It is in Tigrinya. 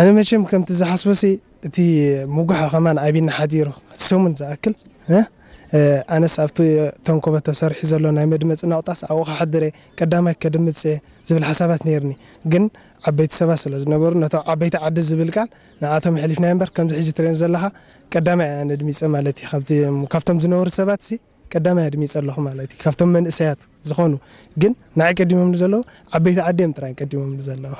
ኣነ መቸም ከምቲ ዝሓስቦሲ እቲ ምጉሖ ከማን ኣቢና ሓዲሩ ሰሙን ዝኣክል ኣነስ ኣብቲ ተንኮበ ተሰሪሑ ዘሎ ናይ መድመፂ ናቑጣስ ኣብኡ ክሓድር እየ፣ ቀዳማይ ከድምፅ እየ ዝብል ሓሳባት ነይርኒ። ግን ዓበይቲ ሰባት ስለ ዝነበሩ ነቶም ዓበይቲ ዓዲ ዝብል ቃል ንኣቶም ኣሕሊፍና እምበር ከምዚ ሕጂ ትርእዮም ዘለኻ ቀዳማይ ኣነ ድሚፀ ማለት እዩ። ካብቶም ዝነበሩ ሰባት ሲ ቀዳማይ ኣድሚፀ ኣለኹ ማለት እዩ። ካብቶም መንእሰያት ዝኾኑ ግን ንዓይ ቀዲሞም ዘለዉ ዓበይቲ ዓዲ እዮም ጥራይ ቀዲሞም ዘለዉ።